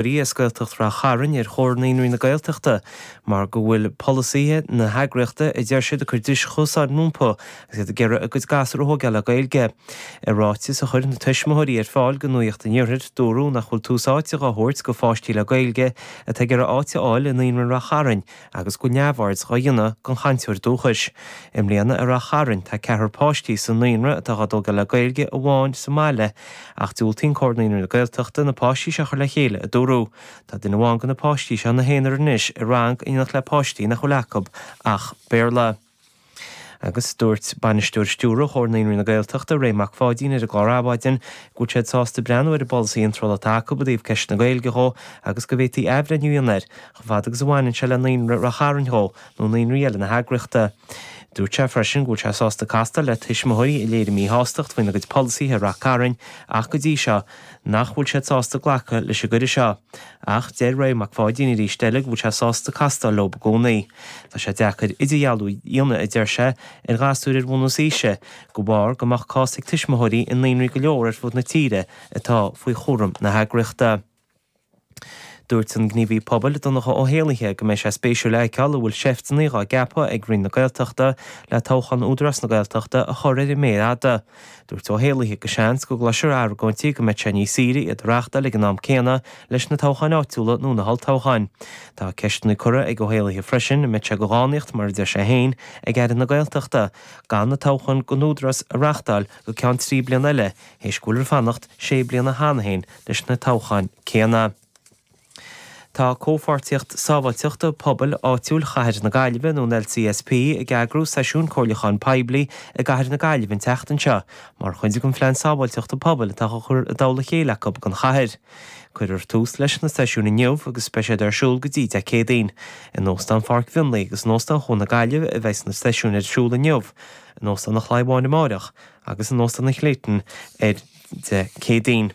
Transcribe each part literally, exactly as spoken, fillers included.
As Gaeltacht Rath Chairn ar Chomhar Naíonraí na Gaeltachta mar go bhfuil polasaithe na heagraíochta a deir siad ag cur dris chosáin rompu agus iad ag iarraidh a gcuid gasúr a thógáil le Gaeilge. I ráiteas a chuir na tuismitheoirí ar fáil go Nuacht an Iarthair, dúradh nach bhfuil tús áite á thabhairt go pháistí le Gaeilge atá ag iarraidh áit a fháil i Naíonra Rath Chairn agus go bhfuil neamhaird á dhéanamh den chainteoir dúchais. I mbliana i Rath Chairn tá ceathrar páistí sa naíonra atá á dtógáil le Gaeilge amháin sa mbaile ach diúltaíonn Comhar Naíonraí na Gaeltachta na páistí seo a chur le chéile a dúradh. Tá duine amháin de na páistí seo ina haonar anois i rang in éineacht le páistí nach bhfuil acu ach Béarla. Agus dúirt bainisteoir stiúrtha Chomhar Naíonraí na Gaeltachta Ray Mac Pháidín ar an gclár Adhmhaidin go bhfuil siad sásta breathnú ar an bpolasaí iontrála atá acu i dtaobh ceist na Gaeilge dhó agus go bhféadfaí athbhreithniú a dhéanamh air chomh fada agus a bhaineann sé le Naíonra Rath Chairn dhó nó naíonraí eile na heagraíochta. Dúirt sé freisin go bhfuil sé sásta castáil le tuismitheoirí a léirigh míshástacht faoina gcuid polasaithe i Rath Cairn ach go dtí seo nach bhfuil siad sásta glacadh leis an gcuireadh seo. Ach deir Ray Mac Pháidín arís eile go bhfuil sé sásta castáil leo i gcónaí. Tá sé deacair idirdhealú a dhéanamh a deir sé ar ghasúir ar bhunús aoise de bharr go mbeadh cás ag tuismitheoirí i naíonraí go leor ar fud na tíre atá faoi chúram na heagraíochta. Dúirt an gníomhaí pobail Donncha Ó hÉallaithe go mbeidh sé spéisiúil a fheiceáil an bhfuil seifteanna á gceapadh ag Roinn na Gaeltachta le toghchán Údarás na Gaeltachta a chur ar an méar fhada. Dúirt Ó hÉallaithe go seans go gcloisfear argóintí go mbeidh sé níos saoire iad a reáchtáil ag an am céanna leis na toghcháin áitiúla nó na holltoghcháin. Tá ceisteanna curtha ag Ó hÉallaithe freisin an mbeidh sé de dhánaíocht mar a deir sé féin ag Aire na Gaeltachta gan na toghcháin don Údarás a reáchtáil go ceann trí bliana eile théis go bhfuil ar fanacht sé bliana cheana féin leis na toghcháin céanna. Tá comhpháirtíocht sábháilteachta pobail áitiúil Chathair na Gaillimhe nó an LCSP ag eagrú seisiún comhairliúcháin poiblí i gCathair na Gaillimhe an tseachtain seo mar chuid den phlean sábháilteachta pobail atá á chur i dtoll a chéile acu don chathair. Cuirfear tús leis na seisiúin inniu agus beidh siad ar siúl go dtí Dé Céadaoin. In Óstán Pháirc Mhionlaigh agus in Óstán Chuan na Gaillimhe a bheidh na seisiúin ar siúl inniu, in Óstán an Chlaí Bháin amárach agus in Óstán an Clayton ar Dé Céadaoin.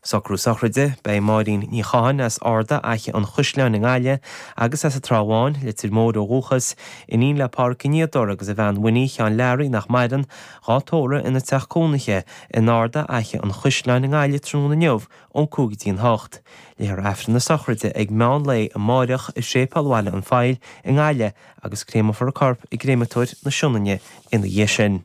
Socrú sochraide, beidh Máirín Ní Chatháin as Ardagh Fhaiche an Chaisleáin i nGaillimh agus as an Trá Bháin, Leitir Móir ó dhúchas, iníon le Pádraig Ó Niadóra agus a bhean Winnie Sheáin Learaí nach maireann, dhá tórramh ina teach cónaithe in Ardagh Fhaiche an Chaisleáin i nGaillimh tráthnóna inniu ón cúig go dtí an hocht. Léifear Aifreann na sochraide ag meán lae amárach i Séipéal Bhaile an Phoill i nGaillimh agus créamófar a corp i gcréamatóir na Sionainne ina dhiaidh sin.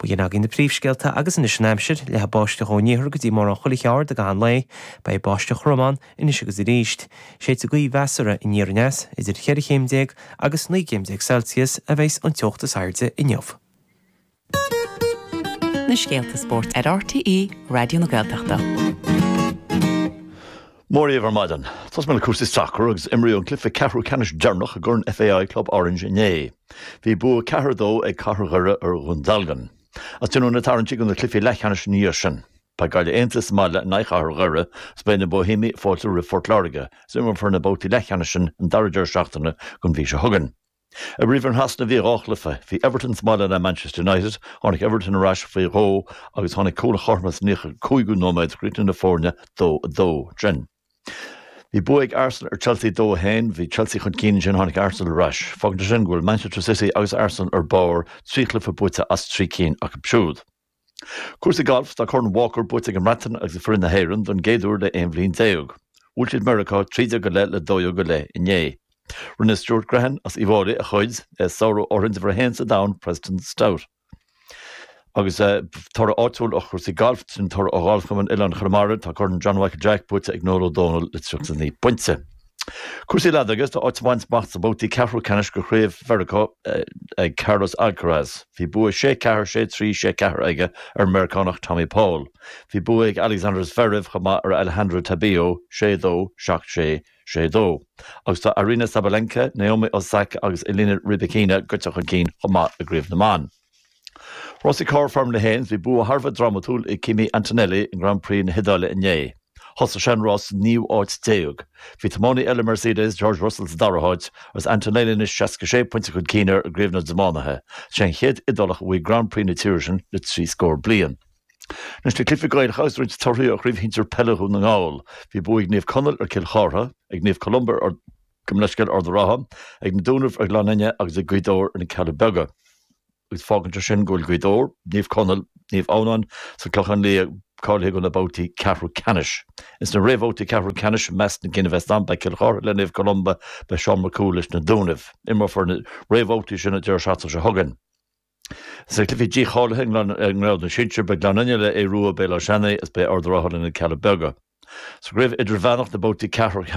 B'in agaibh na príomhscéalta agus anois an aimsir, leathfaidh báisteach ón iarthar go dtí mórán chuile cheard i gcaitheamh an lae, beidh báisteach throm ann anois agus arís. Séidfidh gaoth mheasartha aniar aneas, idir cheithre chéim déag agus naoi gcéim déag Celsius a bheas an teocht is airde inniu. Na scéalta spóirt ar RTÉ Raidió na Gaeltachta. Mora daoibh ar maidin. Tosóidh mé le cúrsaí sacair agus imríodh an cluiche ceathrú ceannais deireanach i gCorn FAI Club Orange inné. Bhí bua ceathair dó ag Cathair Dhoire ar Dhún Dealgan. Agus déanadh na tarraingtí do na cluichí leathcheannais ina dhiaidh sin. Beidh Gaillimh Aontaithe sa mbaile in aghaidh Chathair Dhoire agus beidh na Boihéamaigh ag fáiltiú roimh Phort Láirge. Is imreofar na babhtaí leathcheannais sin an dara deireadh seachtaine den mhí seo chugainn. I bPríomhroinn Shasana bhí dhá chluiche. Bhí Everton sa mbaile le Manchester United, tháinig Everton ar ais faoi dhó agus tháinig cúl an chothromais sa naocha cúigiú nóiméad, chríochnaigh na foirne dó a dó ansin. Bhí bua ag Arsenal ar Chelsea dó a haon, bhí Chelsea chun cinn ansin tháinig Arsenal ar ais. Fágann sé sin go bhfuil Manchester City agus Arsenal ar barr, trí chluiche buaite as trí cinn acu siúd. Cúrsaí gailf, tá Corn Walker buaite ag an mBreatain agus ag foireann na hÉireann don gcéad uair le aon bhliain déag. Bhuail siad Meiriceá trí déag go leith le dó dhéag go leith inné. Rinne Stuart Grehan as Uíbh Fhailí a chuid, é ag sárú urrainn d'uimhir a haon sa domhan, Preston Stout. Agus toradh áitiúil ó chúrsaí gailf, sin toradh ó Ghalfchumann Oileán Chonamara, tá Corn John Michael Jack buaite ag Noel Ó Dónaill le tríocha naoi bpointe. Cúrsaí leadóige, tá áit á baint amach sa babhtaí ceathrú ceannais de Chraobh Mheiriceá ag Carlos Alcaraz. Bhí bua sé ceathair, sé trí, sé ceathair aige ar an Meiriceánach Tommy Paul. Bhí bua ag Alexander Zverev chomh maith ar Alejandro Tabilo, sé dó, seacht sé, sé dó. Agus tá Aryna Sabalenka, Naomi Osaka agus Elena Rybakina gaibhte chun cinn chomh maith i gcraobh na mban. Rásaí carr Formula a haon, bhí bua thar a bheith drámatúil ag Kimi Antonelli i nGrand Prix na hIodáile inné. Thosaigh sé an rás sa naoú háit déag. Bhí tiománaí eile Mercedes, George Russell sa dara háit, agus Antonelli anois seasca sé pointe chun cinn air i gcraobh na dtiománaithe. Is é an chéad Iodálach a bhuaigh Grand Prix na tíre sin le trí scór bliain. Anois na cluichí Gaelacha agus roinnt torthaí ó Chraobh Shinsir Peile Dhún na nGall. Bhí bua ag Naomh Conaill ar Cill Chartha, ag Naomh Columba ar Gabh mo leithscéal Ard an Rátha, ag na Dúnaibh ar Ghleann Fhinne agus ag Gaoth Dobhair ar na Cealla Beaga. Agus fágann sé sin go bhfuil Gaoth Dobhair, Naomh Conaill, Naomh Adhamhnáin sa Clochán Liath cáilithe do na babhtaí ceathrú ceannais. Ins na réamhbhabhtaí ceathrú ceannais i measc na gcinn a bheas ann beidh Cill Chartha le Naomh Columba, beidh Seán Mac Cumhaill leis na Dúnaibh. Imreofar na réamhbhabhtaí sin an deireadh seachtaine seo chugainn. Sna cluichí dícháilithe i ngrád na sinsear beidh Gleann Fhinne le Aodh Rua Béal Átha Seanaidh is beidh Ard an Rátha le Na Cealla Beaga. Sa gcraobh idirmheánach na babhtaí ceathrú